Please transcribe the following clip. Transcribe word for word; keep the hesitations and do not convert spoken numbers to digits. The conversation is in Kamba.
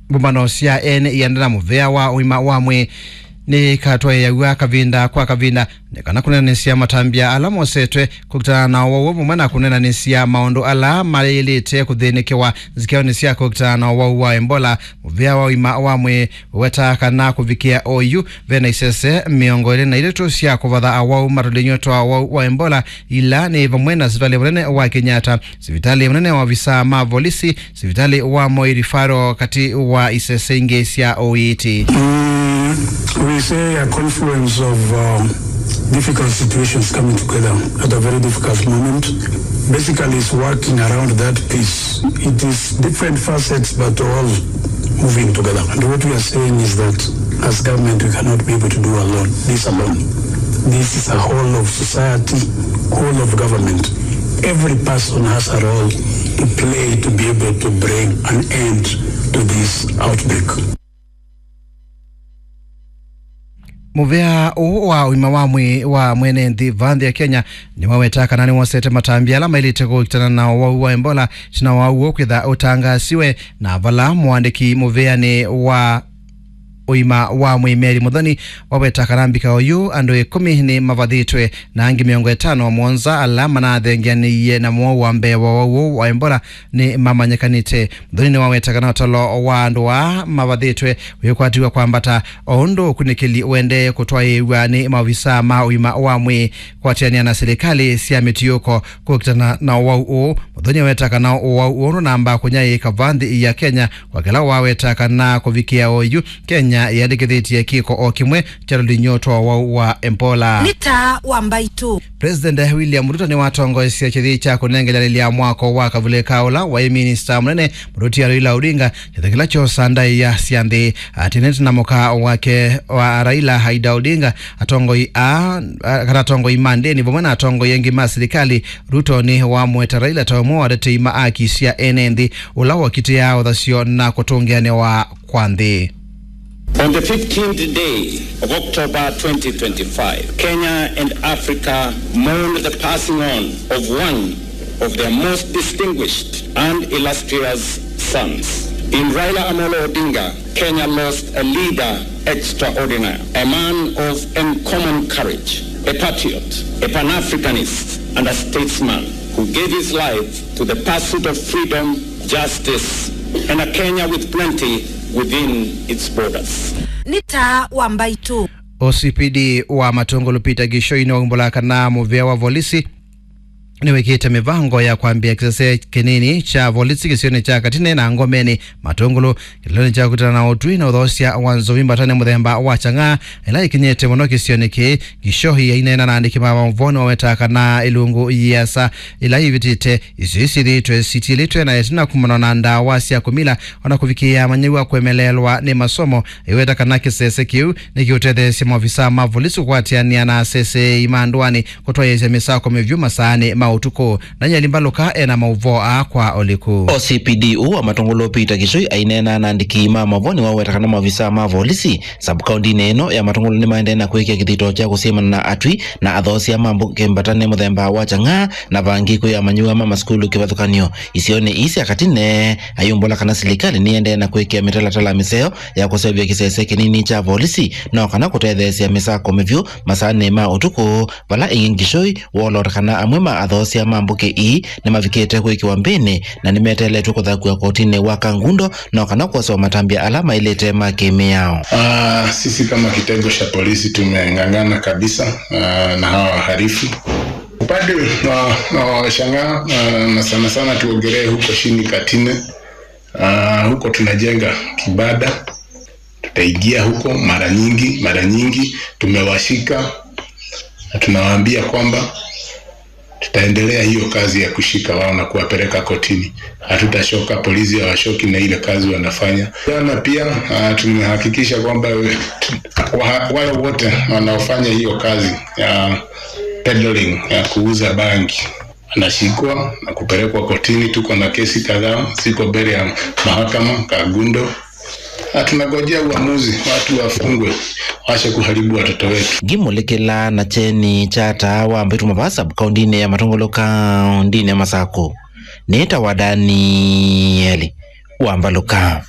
Mbũmbano sya ene ienda na mũvea wa ũima wa mwĩĩ nĩikatwaĩaw'a kavinda kwa kavinda nĩ kana kũneenanĩsya matambya ala mosetwe kũkitana na ũwau vamwe na kũneenanĩsya maũndũ ala mayĩlĩte kũthĩnĩkĩwa nzikĩonĩ sya kũkitana na ũwau wa Ebola. Mũvea wa ũima wa mwĩĩ ũwetaa kana kũvikĩa oyu, ve na isese mĩongo ĩlĩ na itatũ sya kũvatha awau matũlinyo twa ũwau wa Ebola, ila nĩ vamwe na sivitalĩ mũnene wa Kenyatta, sivitalĩ mũnene wa avisaa ma volisi, sivitalĩ wa Moi Referral, katĩ wa isese ingĩ sya ũiiti. Mm, we say a confluence of, uh, difficult situations coming together at a very difficult moment. Basically, it's working around that piece. It is different facets, but all moving together. And what we are saying is that as government, we cannot be able to do alone, this alone. This is a whole of society, whole of government. Every person has a role to play to be able to bring an end to this outbreak. Mũvea ũũ wa ũima wa mwĩĩ wa mwene nthĩ vaa nthĩ ya Kenya nĩwaweta kana nĩwosete matambya ala maĩlĩte kũkitana na ũwau wa Ebola, tina wa ũwau kwĩtha ũtangaasiwe, na vala mũandĩki mũvĩanĩ wa ũima wa mwĩĩ Mary Muthoni waweta kana mbika oyu andũ ĩkũmi nĩ mavathĩtwe na angĩ mĩongo ĩtano na mũonza ala manathengeanĩie na mũwau wa mbee wa ũwau ũũ wa Ebola nĩ mamanyikanĩte. Muthoni nĩwaweta kana ũtalo wa andũ aa mavathĩtwe wĩkwatiw'a kwambata, o ũndũ ũkunĩkĩli ũendee kũtwaĩĩw'a nĩ maovisaa ma ũima wa mwĩĩ kũatĩanĩa na silikalĩ sya mĩtiũko kũkitana na ũwau ũũ. Muthoni aweta kana ũwau ũũ ndũnamba kũnyaĩĩka vaa nthĩ ya Kenya, kwa kĩla waweta kana kũvikĩa oyu, Kenya yĩandĩkĩthĩtye kĩko o kĩmwe kya tũlinyo twa ũwau wa Ebola. Nĩ taa wa mbaitũ. President William Ruto nĩwatongoesye kĩthĩ kya kũnengeleanĩlya mwako wa kavulĩka ũla waĩ minista mũnene mũtũtia Raila Odinga, kĩthĩ kĩla kyosa ndaĩa sya nthĩ. Atinĩte na mũka wake wa Raila, Aida Odinga, atongoi a, a, kana atongoi ma ndĩni vamwe na atongoi angĩ ma silikalĩ, Ruto nĩwamũete Raila ta ũmwe wa atetei ma aki sya ene nthĩ, ũla wokitĩaa ũthasyo na kũtũngĩanĩwa kwa nthĩ. On the fifteenth day of October twenty twenty-five, Kenya and Africa mourn the passing on of one of their most distinguished and illustrious sons. In Raila Amolo Odinga, Kenya lost a leader extraordinary, a man of uncommon courage, a patriot, a Pan-Africanist, and a statesman who gave his life to the pursuit of freedom, justice, and a Kenya with plenty within its borders. Nĩ taa wa mbaitũ. O C P D wa Matũngũlũ Peter Gĩchoi nĩwaumbũla kana mũvĩa wa volisi nĩwĩkĩte mĩvango ya kwambĩa kĩsese kĩnini kya volisi kĩsionĩ kya Katine na Ngomeni Matũngũlũ. Kĩlĩlonĩ kya kũkitana na ũtwi na ũthoosya wa nzovi mbatanĩ mũthemba wa Chang'aa, ĩla ĩkinyĩte mũno kĩsionĩ kĩĩ, Gĩchoi aineena na andĩki ma maũvoo nĩwawetaa kana ĩlungu yĩasa ĩla yĩvĩtĩte, isio isyĩthĩĩtwe sitiĩlĩtwe na ĩtina kumana na ndawa sya kũmila, ona kũvikĩĩa amanyĩw'a kũemeleelwa nĩ masomo. Aiweta kana kĩsese kĩu nĩkĩũtetheesya maovisaa ma volisi kũkwatĩanĩa na aseseei ma ndũanĩ kũtwaĩĩsya mĩsako mĩvyũ masaanĩ ma ũtukũ. Daniel Mbaluka ena maũvoo aa kwa ũliku. O C P D ũũ wa Matũngũlũ Peter Gĩchoi aineena na andĩki ma maũvoo nĩwaweta kana maovisaa ma volisi sub-kaũntinĩ ĩno ya Matũngũlũ nĩmaendee na kwĩkĩa kĩthito kya kũsyĩmana na atwi na athoosya ma mbũkĩ mbatanĩ mũthemba wa Chang'aa na vangĩ kwĩ amanyĩw'a ma masukulu kĩvathũkany'o isionĩ ii sya Katine. Ayumbũla kana silikalĩ nĩendee na kwĩkĩa mĩtalatala mĩseo ya kũseũvya kĩsese kĩnini kya volisi no kana kũtetheesya mĩsako mĩvyũ masaanĩ ma ũtukũ, vala ĩngĩ Gĩchoi woolota kana amwe ma athoosya ma mbũkĩ ii nĩmavikĩte kwĩkĩwa mbĩnĩ na nĩmeteeletw'e kũthakw'a kotinĩ wa Kangundo no kana kwosewa matambya ala maĩlĩte ma kĩmĩao. Ah, sisi kama kitengo cha polisi tumeng'ang'ana kabisa, ah, na hawa wahalifu. Upande wa, wa Chang'aa, ah, na sana sana tuongelee huko chini Katine, ah, huko tunajenga kibada. Tutaingia huko mara nyingi, mara nyingi tumewashika na tunawaambia kwamba tutaendelea hiyo kazi ya kushika wao na kuwapeleka kotini. Hatutachoka, polisi hawachoki na ile kazi wanafanya. Jana pia, ah, tumehakikisha kwamba, eh, wa-, wale wote wanaofanya hiyo kazi ya peddling, ya kuuza bangi, wanashikwa na kupelekwa kotini. Tuko na kesi kadhaa ziko mbele ya mahakama, Kangundo. Na tunangojea uamuzi, watu wafungwe, waache kuharibu watoto wetu. Ngimũlĩkĩla na kyeni kya taa wa mbaitũ mavaa sub-kaũntinĩ ya Matũngũlũ kaũntinĩ ya Masakũ. Nĩtawa Danieli wa Mbaluka.